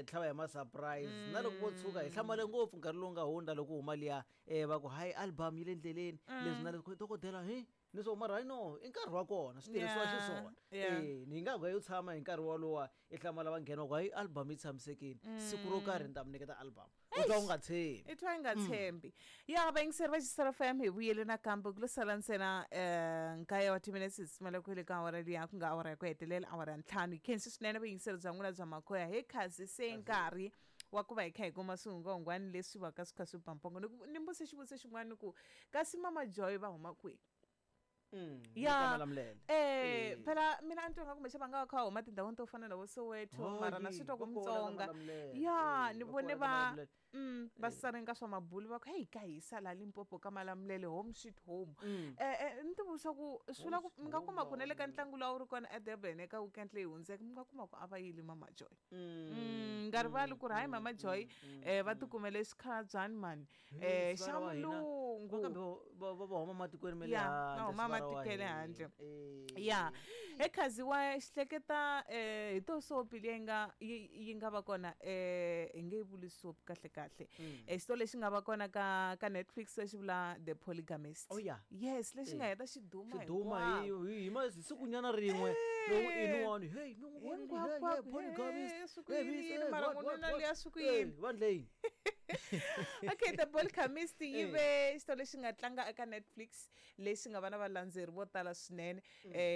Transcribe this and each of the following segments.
tlhava hi ma-surprise na loko vo tshuka hi hlamale ngopfu nkarhi lowu nga hundza loko huma liya va ku hayi album yi le ndleleni leswi na leswi dokodela hi ni swo mara hayi no i nkarhi wa kona swi tirhisiwa xiswona. Ni nga ku yo tshama hi nkarhi wolowa i hlamala va nghena ku hayi album yi tshamisekile siku ro karhi ni ta mi nyiketa album u twa u nga tshembi. I twa i nga tshembi. Ya vayingiseri va Xisero FM, hi vuyele nakambe ku lo sala ntsena nkaye wa timinetse hi tsutsumela ku hele ka awara liya ku nga awara ya ku hetelela awara ya ntlhanu. Hi khensi swinene vuyingiseri bya n'wina bya makhoya he khazi se nkarhi wa ku va hi kha hi kuma swihungwahungwani leswi va ka swi kha swi ba mpongo. Ni mbuse xivutiso xin'wana ni ku kasi Mama Joy va huma kwihi? Ya phela mina a ni twa nga kumbexana va nga va kha va huma tindhawini to fana na vo Soweto mara na swi twa ku Mutsonga ya ni vone va va sarenga swa mabulu va ku hey ka hisa la Limpopo ka Malamulele home sweet home. Ni ti vutisa ku swi vula ku mi nga kuma ku na le ka ntlangu lowu a wu ri kona eDurban eka weekend leyi hundzeke mi nga kuma ku a va yile Mama Joy. Nga rivali ku ri hayi Mama Joy va tikumele xikhalabyanani mani xa mulungu. Kambe va huma matikweni ma le Ya, va handle, huma swi vara wa matikweni hina. handle. Ya ekhazi wa xihleketa hi to sopi leyi nga yi nga va kona hi nge yi vuli soap kahle kahle. Xitori lexi nga va kona ka Netflix lexi vula The Polygamist. Oh, yeah. Yes, lexi nga heta xi duma Xi duma hi sikunyana rin'we. Loko i ni wani, hey, mi n'wi vonile, hey, hey, Hinkwako, polygamist. hey, swi ku Hey, yini, miss, yini, hey, mara what, n'wanuna what, what? luya swi ku Hey, yini? vanhu leyi. Okay, The Polygamist yi ve xitori lexi nga tlanga eka Netflix lexi nga va na valandzeri vo tala swinene.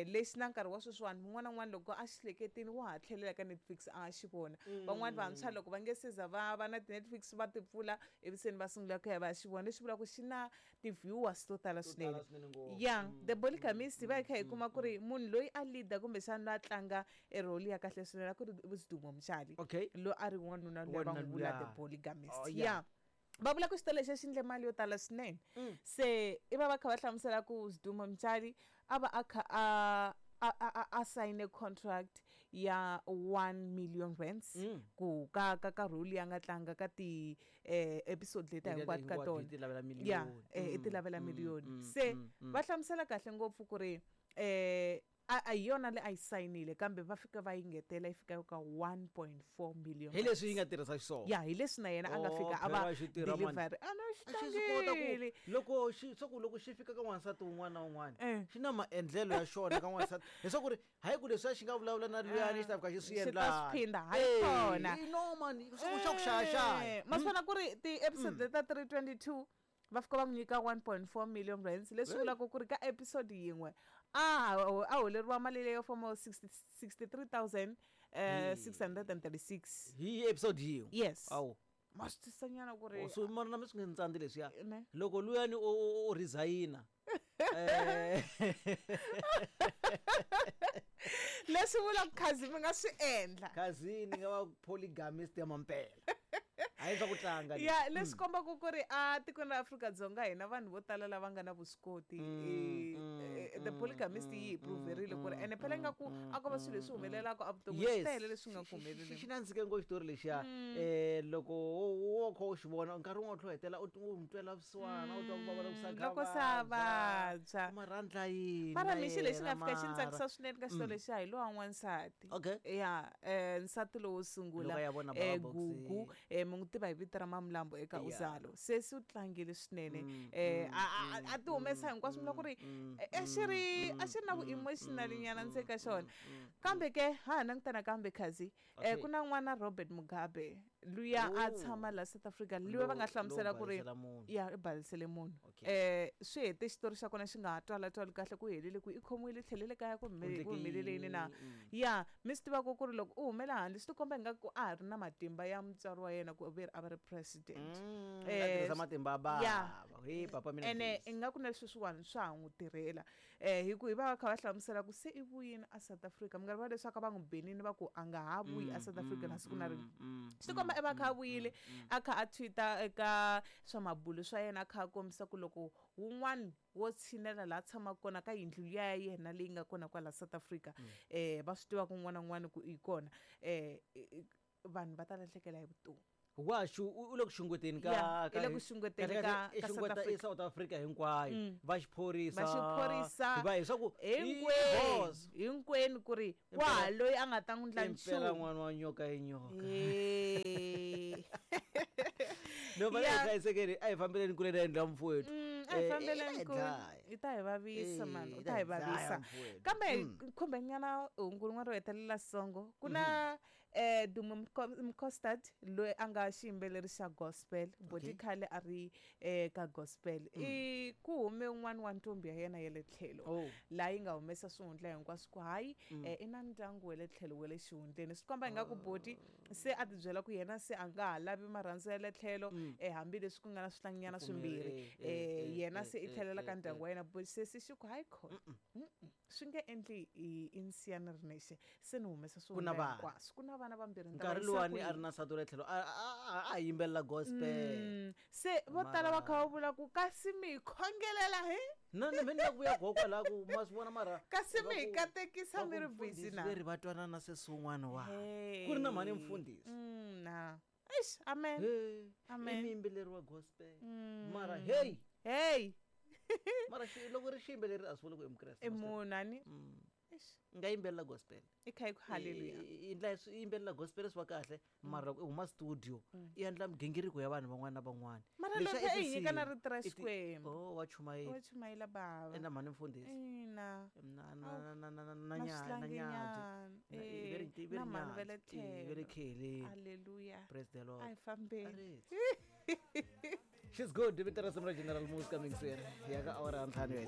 Lexi na nkarhi wa sweswiwani un'wana na un'wana loko a xi hleketile wa ha tlhelela ka Netflix a xi vona. Van'wani vantshwa loko va nge se za va va na ti-Netflix va ti pfula ivi se ni va sungula ku ya va ya xi vona, leswi vulaka ku xi na ti-viewers to tala To swinene. tala swinene ngopfu. Ya The Polygamist va hi kha hi kuma ku ri munhu loyi a leader kumbexana loyi a tlanga e role ya kahle swinene a ku ri Sdumo Mtshali. Loyi a ri wanuna loyi va n'wi vula The Polygamist. Oh, yeah. Ya. Va vula ku xitori lexi xi endle mali yo tala swinene. Se i va va kha va hlamusela ku Sdumo Mtshali a va a kha a sign contract ya 1 million rands ku ka ka ka role ya nga tlanga ka ti episode leti Leti hinkwato ka hinkwato tona. yi ti lavela Ya, miliyoni. i ti lavela miliyoni. Se va hlamusela kahle ngopfu ku ri a hi yona leyi a yi sayinile kambe va fika va yi ngetela yi fika ka 1.4 million. Hi leswi yi nga tirhisa xiswona. Ya, hi leswi na yena a nga fika a va Oh, phela xi tirha mani. delivery. A no xi A xi swi kota ku tlangile. loko xi swa ku loko xi fika ka n'wansati un'wana na un'wana xi na maendlelo ya xona ka n'wansati leswaku ri hayi ku leswiya xi nga vulavula na luyani xi ta fika xi swi Xi ta endla. swi phinda, hayi kona. No man, swa ku xa ku xayaxaya. Ma swi vona ku ri ti-episode leti ta 322 va fika va n'wi nyika 1.4 million rands leswi vulaka ku ri ka episode yin'we a holeriwa mali leyo foma 63 636. Hi episode yin'we. Yes. Awu. Ma swi twisisa nyana ku ri So mara na mi swi nge ntsandzi leswiya. Ne. Loko luyani o resign-a. Leswi vulaka khazi mi nga swi endla. Khazi ni nga va polygamist ya mampela. Hayi swa ku tlanga leswi. Ya, leswi kombaka ku ri a tikweni ra Afrika-Dzonga hina vanhu vo tala lava nga na vuswikoti. The Polygamist yi hi proverile ku ri ene phela ingaku a ko va swilo leswi humelelaka evuton'wini, swi tele leswi nga ku humeleleni. Xi nandzike ngopfu xitori lexiya. Loko wo kha u xi vona nkarhi wun'wana u tlhela u hetelela u n'wi twela vusiwana, u twa ku vava loko se a kha Loko se a vabya. Mara a ndla yini Mara na mi xilo lexi nga yena fika xi ni mara? tsakisa swinene ka xitori lexiya hi lowa n'wansati. Ya, nsati lowo sungula, Loko a ya vona Baba Boxer. Gugu, mi n'wi tiva hi vito ra Mamlambo eka Uzalo. Se u tlangile swinene. A ti humesa hinkwaswo mi ku ri a xi ri a xi ri na vu-emotional nyana ndzeni ka xona. Kambe ke ha ha langutana kambe khazi ku na n'wana Robert Mugabe luya a tshama la South Africa luya va nga hlamusela ku ri Lowu balisela munhu. ya i balisele munhu. Swi hete xitori xa kona xi nga ha twala twali kahle ku helele ku i khomiwile tlhelele kaya ku Endleke ku humelele yini na. yini? Ya, mi swi tivaka ku ri loko u humela handle swi tikomba ingaku a ha ri na matimba ya mutswari wa yena ku ve a va ri president. A tirhisa matimba ya bava. He, papa mina Ene Jesu. ingaku na sweswiwani swa ha n'wi tirhela. Hi ku hi va va kha va hlamusela ku se i vuyini a South Africa. Mi nga rivali leswaku va n'wi benini va ku a nga ha vuyi a South Africa na siku na rin'we. Swi tikomba i va kha a vuyile a kha a tweet-a eka swa mabulo swa yena a kha a kombisa ku loko wun'wani wo tshinela laha tshamaka kona ka yindlu liya ya yena leyi nga kona kwala South Africa, va swi tiva ku un'wana na un'wana ku i kona, vanhu va ta lahlekela hi vutomi. Wa xu, u le ku xungeteni ka, Ya, ka i le ku xungeteni kahle ka, kahle i ka South xungeta i Africa. South Africa hinkwayo. Va xiphorisa. Va xiphorisa. Va hi swa ku i Hinkwenu, boss. hinkwenu ku ri Impela wa loyi a nga ta n'wi ndla Impela nchumu. n'wana wa nyoka i nyoka. No va hi hlayisekeni, a hi fambeleni kule na yindlu ya mfowethu. A hi Eh, fambeleni i ta hi kule. dlaya. I ta hi vavisa mani, Eh, u i ta hi dlaya vavisa. mfowethu. Kambe khumbenyana hungu rin'wana ro hetelela songo ku na Dumo Mkostad loyi a nga xiyimbeleri xa gospel, boti khale a ri ka gospel. I ku hume un'wana wa ntombi ya yena ya le tlhelo laha yi nga humesa swihundla hinkwaswo ku hayi i na ndyangu wa le tlhelo wa le xihundleni. Swi komba ingaku boti se a tibyela ku yena se a nga ha lavi marhandzu ya le tlhelo, hambileswi ku nga na swihlanginyana Pfumeri, swimbirhi, yena se i tlhelela ka ndyangu wa yena. But sesi xi ku hayi khona, swi nge endli i nsiya ni ri nexe, se ni humesa Ku na swihundla vana. hinkwaswo, ku na vana vambirhi, ni ta va Nkarhi yisa luwani a ri kwihi? na nsati wa le tlhelo, a yimbelela gospel. Se vo tala va kha va vula ku kasi mi hi khongelela hi Na mina ku vuya gogo kwalaho ku ma swi vona mara kasi va mi hi ku- katekisa va mi ku ri busy mfundhisi na veri va twanana na sesi wun'wana wa Hey. ku ri na mhani mfundhisi. Na eish, amen. Hey, i Amen. muyimbeleri wa gospel mara hey. Hey. Mara loko ri xiyimbeleri a swi vuli ku i mukreste, I ma swi tiva. munhu ani. Eish. Nga yimbelela gospel. I kha yi ku haleluya. I endla i yimbelela gospel swi va kahle, mara loko i huma studio i endla migingiriko ya vanhu van'wana na van'wana. Mara Leswiya loko i i hi nyika na tinsimu. rito ra I ti- Xikwembu. Oh, wa chumayela. Wa chumayela bava. Enda mhani mfundhisi. Ina. Na, na, Awu, na, na, na, na, na na na swihlanginyana. nyadzi. Na, i Eh, ve ri na mhani va le nyadzi. Eh, ve le tlhelo. kheleni. Haleluya. Praise the Lord. A hi fambeni. Aretse. She's good. Vito ra risimu ra General Muzi coming soon. Ya ka awara ya ntlhanu ya